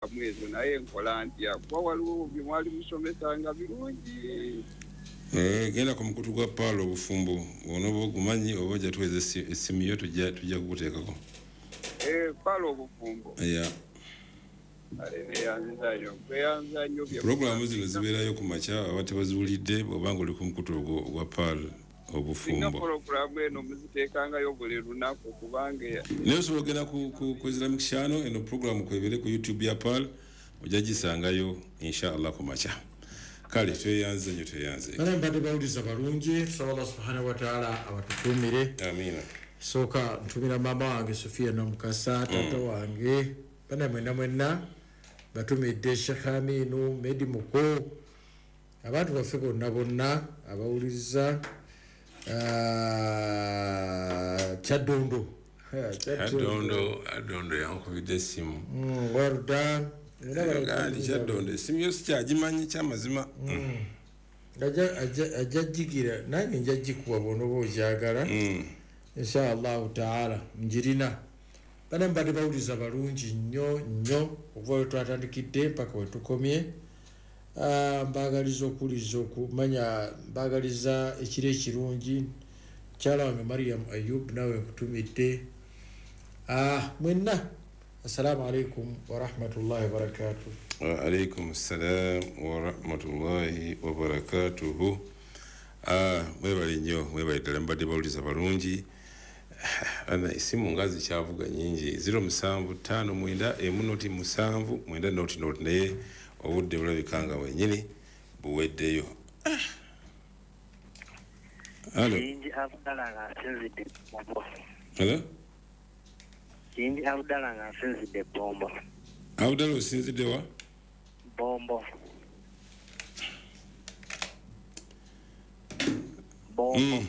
Ezo naye nkola ntya? Kuba waliwo bye mwali musomesanga birungi. Genda ku mukutu gwa Paalo Obufumbo, onooba ogumanyi oba ojja tuweza essimu yo, tujja kukuteekako. Paalo Obufumbo. Yeah. Pulogulaamu zino zibeerayo ku makya, aba tebaziwulidde bw'oba nga oli ku mukutu ogwo ogwa Paal Obufumbo. Pulogulaamu eno muziteekangayo buli lunaku kubanga Naye osobola ogenda ku Islamic Channel, eno pulogulaamu kwebere ku YouTube ya Paal, ojja gisangayo inshallah ku makya. Kale tweyanze nnyo, tweyanze. Bale mbadde bawuliza balungi, tusaba Allah subhanahu wataala abatukuumire. Amiina. Sooka ntumira maama wange Sofia Namukasa, taata wange, bana mwenna mwenna batumidde, Sheikh Aminu Medi Muko, abantu baffe bonna bonna abawuliriza. Kyaddondo. Adondo, Adondo yankubidde essimu. Waruda. Ndi Kyaddondo, essimu yo sikyagimanyi kyamazima. Ajja jigira nange nja gikuwa bw'onoba ogyagala. Inshallahu taala njirina. Bana mbadde bawuliza balungi nnyo nnyo okuva we twatandikidde mpaka we tukomye. Mbagaliza okuwuliza okumanya, mbagaliza ekiro ekirungi. Mukyala wange Mariam Ayub, nawe nkutumidde. Mwenna assalamu alaikum warahmatullahi wabarakatuh. Wa alaikum salam warahmatullahi wabarakatuhu. Mwebale nnyo, mwebale ddala, mbadde bawuliza balungi. Ana esimu nga zikyavuga nyingi, 0759 1 0 7 9 0 0, naye obudde bulabika nga bwennyini buweddeyo. Halo. Kiyingi Abdala nga nsinzidde Bombo. Halo? Kiyingi Abdala nga nsinzidde Bombo. Abdala osinzidde wa? Bombo. Bombo.